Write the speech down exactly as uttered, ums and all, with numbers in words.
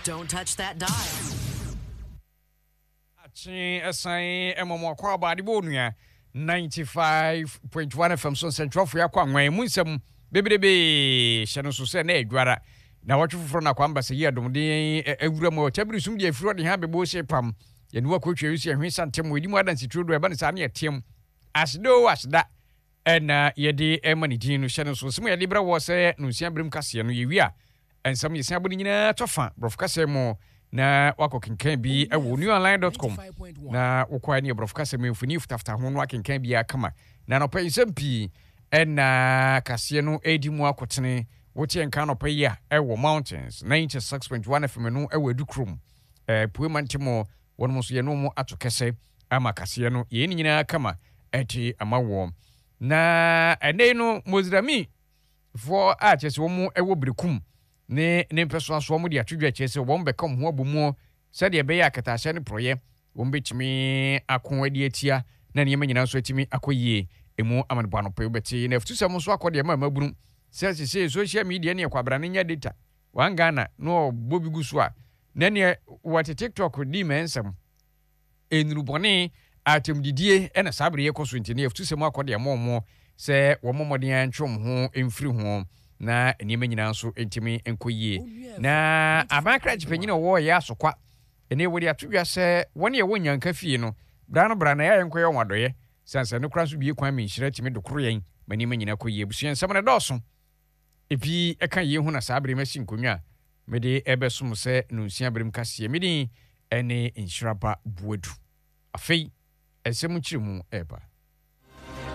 Don't touch that dial. Akye ɛsan ɛmɔ mo akɔ aba adebɔ onua ninety-five point one F M so nsɛntwerɛfoɔ akɔ anwan mu nsɛm bebrebe hyɛ no so sɛ na adwara na wɔtwe foforɔ na kwamba sɛ yi adomden awura mu ɔkyɛbere sum deɛ afiri ɔde ha bɛbɔ se pam yɛne wakɔtwa yi so yɛhwe santɛm wɔ ɛdi mu adansituro do ɛba ne saa ne yɛteam aseda o aseda ɛna yɛde ɛma ne din no hyɛ no so nsɛm a yɛde brɛ wɔ sɛ no nsia berɛm kaseɛ no yɛwie a nsɛm yɛsia bɔ no nyinaa tɔ fa borɔfo kasɛ mu na wakɔ kenkan bi ɛwɔ newonline dot com na wokɔa ne borɔfo kasɛ mu mfoni fitafita ho no akenkan bi akama na nɔpɛ nsɛm pii ɛna kaseɛ no ɛdi mu akɔtene woteɛ nka nɔpɛ yi a ɛwɔ Mountains ninety-six point one F M no ɛwɔ Adukurom pue ma ntem wɔnom nso yɛne mu ato kɛsɛ ama kaseɛ no yɛn nyinaa kama ɛte ama wɔ na ɛnɛ no Mozirami foɔ a kyerɛ sɛ wɔn ɛwɔ Berekum ne ne mpɛsoasoɔ wɔn de ato dwa kyerɛ sɛ wɔn bɛka wɔn ho abɔ mu sɛdeɛ ɛbɛyɛ akatahyɛ ne porɔyɛ wɔn bɛtumi ako adi atia na nneɛma nyinaa nso atumi akɔ yie emu amanebɔ anɔpɛ wobɛte na afutusɛm nso akɔ deɛ ma mabunu sɛ sese social media ne ɛkwabrane nya data one Ghana na ɔbɔ bi gu so a na neɛ wɔte TikTok di mɛ nsɛm nnurubɔne atɛmdidie ɛna saa bere yɛkɔ so nti ne afutusɛm akɔ deɛ ma ɔmo sɛ wɔn mmɔden antwe wɔn ho mfiri ho na nneɛma nyinaa nso ntumi nkɔ yie. Na aban krakye panyin a ɔwɔ yɛ Asokwa ɛne wɔde ato dwa sɛ wɔn a ɛwɔ nyanka fie no bra no bra na yɛayɛ nkɔyɛ wɔn adɔyɛ sansan no kora nso bie kwan mi nhyira tumi dokoro yɛn ma nneɛma nyinaa kɔ yie. Abusua nsɛm no dɔɔso ebi ɛka yie ho na saa bere masi nkonnwa a mede ɛbɛsom sɛ nonsia berem kaseɛ medin ɛne Nhyiraba Buadu. Afei ɛsɛm nkyerɛ mu ɛreba.